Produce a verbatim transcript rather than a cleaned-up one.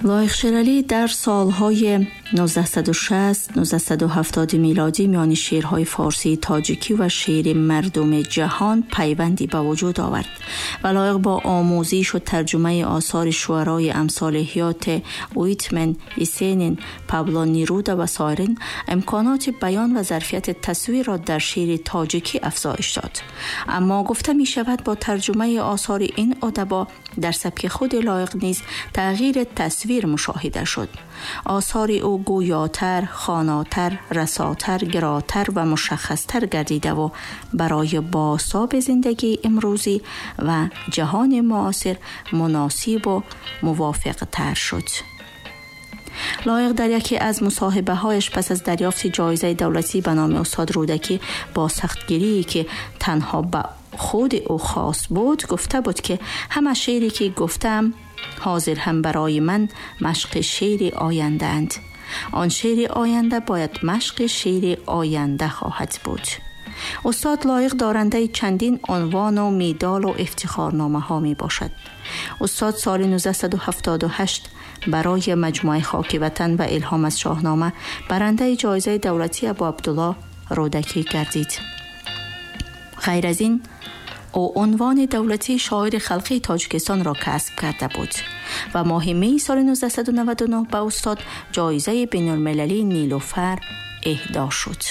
Лоиқ Шералӣ дар солҳои нуздаҳсаду шаст, нуздаҳсаду ҳафтод милодӣ миёни шеърҳои форсии тоҷикӣ ва шеъри мардуми ҷаҳон пайванде ба вуҷуд овард ва лоиқ бо омӯзиш ва тарҷумаи осори шуарои амсоли Ҳёте, Уитмен, Есенин, Пабло Неруда ва сойирин имконоти баён ва зарфияти тасвирро дар шеъри тоҷикӣ афзоиш дод. Аммо гуфта мешавад бо тарҷумаи осори ин адаба дар сабки худи лоиқ низ тағйири тасвир мушоҳида шуд. Осори ӯ гӯётар, хонотар, расотар, гиротар ва мушаххастар гардидаву барои бозтоби зиндагии имрӯзӣ ва ҷаҳони муосир муносибу мувофиқтар шуд. Лоиқ дар яке аз мусоҳибаҳояш пас аз дарёфти ҷоизаи давлатӣ ба номи устод Рӯдакӣ бо сахтгирие ки танҳо ба худи ӯ хос буд гуфта буд ки ҳама шеъре ки гуфтам ҳозир ҳам барои ман машқи шеъри ояндаанд. Он шеъри оянда бояд машқи шеъри оянда хоҳад буд. Устод Лоиқ дорандаи чандин унвону медалу ифтихорномаҳо мебошад. Устод соли нуздаҳсаду ҳафтоду ҳашт барои маҷмӯаи Хоки ватан ва илҳом аз Шоҳнома барандаи ҷоизаи давлатии Абу Абдуллоҳ Рӯдакӣ гардид. Ғайр аз ин ӯ унвони давлатии шоири халқии Тоҷикистонро касб карда буд ва моҳи меи соли нуздаҳсаду наваду нӯҳ ба устод ҷоизаи байналмилалии Нилуфар эҳдо шуд.